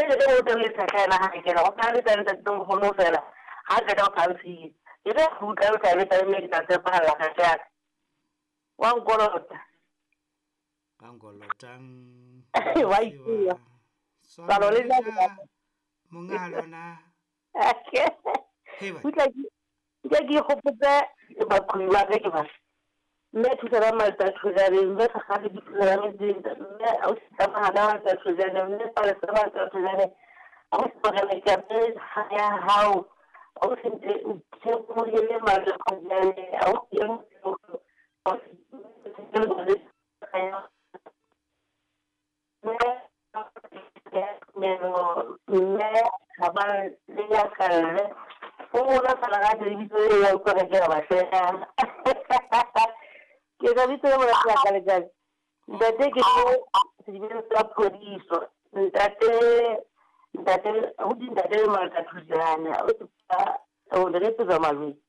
Le ke o teng le tshakana ha ke re o ka le teng ntate mogolo fela ha ke ka phansi ke re go tla o tla le teng mme ke tla tshepagala ga ka wa nkolota Ba nkolotang. Wa ipua. Palo le nna Monga lona. Hei ba. Utlwa ke ke ikgopotse baqhobi ba ka ke ba mme thusana malta thojane mme gagale di thusana metseng mme ausi tsamagana malta thojane mme palesa malta thojane ausi morena ke apere ya hao ausi nthemohele malta thojane ausi e ausi mme ga ba le ya kalle o bona fela ga lebitso le ya utlwa ke re ba shega ke ka bitso le monate ya ka letsatsi ntate ke sedibeng sa phodiso ntate ntate abuti ntate le malka thujane o re tsa malwetse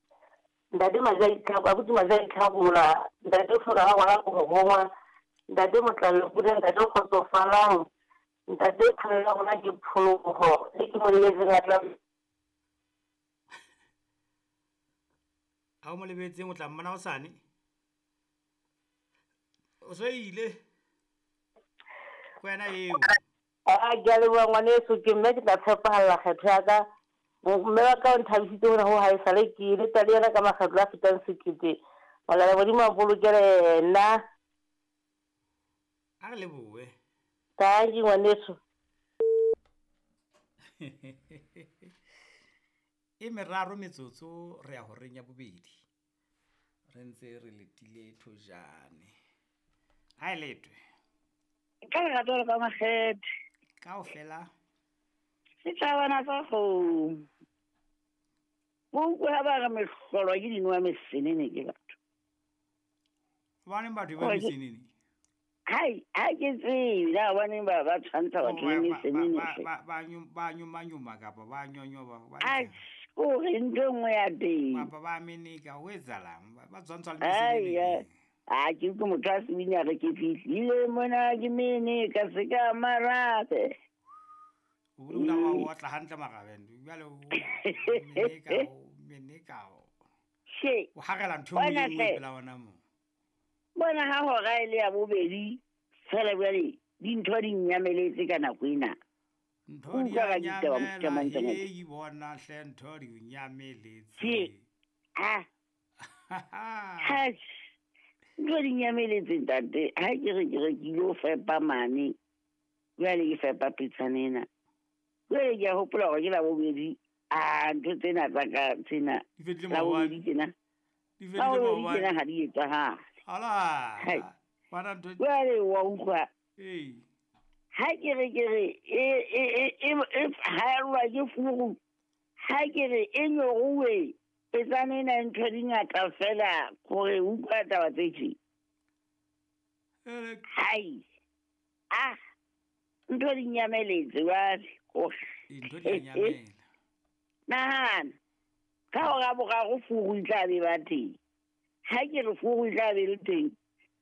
ntate majai ka abuti majai tlhagola ntate o tlhoka ga ngwana go gongwa ntate motlalo pula ntate o kgotsofalang ntate pholo ya rona ke phologo e ke mo lebetseng a tla Ha o mo lebetseng o tla mmona hosane. O so ile. Ke wena eo. A ke a leboha ngwaneso ke mme ke tla tshepahalla kgetho ya ka mme wa ka o nthabisitse hona ho haesale ke ile tsa le yena ka makgetlo a fetang 1000 molala modimo a bolokele yena. A re lebohe. Thank you ngwaneso. E meraro metsotso re ya horeng ya bobedi. Re ntse re letile thojane. Ha e letwe. Ka lerato le ka makgethe. Kaofela. Setjhabana sa kgomo. Bo utlwe ha ba re mehlolo ke dinowa mesenene ke batho. Hobaneng batho ba mesenene? Hai, ha ke tsebe na hobaneng ba ba tshwantsha batho le mesenene. Ba nyuma kapa ba nyonyoba ba. Ai, kore ntho e nngwe ya teng. Kapa ba meneka ho etsahalang? Ba tshwantsha le mesenene. A ke utlwe motho a sebini a re ke fihlile mona ke mene ka se ka marabe. O dula wa otla hantle marabeng. Jwale o meneka o meneka. She. O harela ntho e nngwe pela wona mo. Bona ha hora e le ya bobedi fela jwale dintho di nyameletse ka nako ena. Ntho di a nyamela, hei bona hle ntho di nyameletse. Ha. Ha. Ntho di nyameletse ntate, ha ke re ke ilo fepa mane. Jwale ke fepa pitsana ena. Jwale ke a hopola hore ke la bobedi. A ntho tsena tsa ka tsena. Di fedile maobane. Tsena. Di fedile maobane. Tsena ha di etsahale. Ala. Bana ntho. Jwale wa utlwa. Ee. Ha ke re e haelwa ke furu. Ha ke re e nyoruwe. Petsana ena ntho di ngata fela gore utlwa taba tse tje. Hai. Ah. Ntho di nyameletse jwale. Ntho di nyamela. Nahana. Ka hora boraro furu e tla be ba teng. Ha ke re furu e tla be le teng,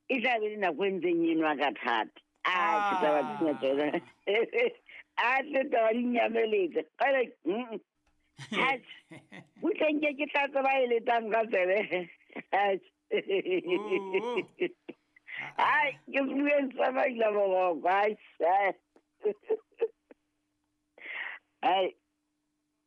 e tla be le nako e ntseng e nwa ka thata. A ke taba tsena tsona. A tle taba di nyameletse. Kgele butleng ke tla tseba e letang ka tsebe. Ai, ke bueng sa maila boroko. Ai. Ai.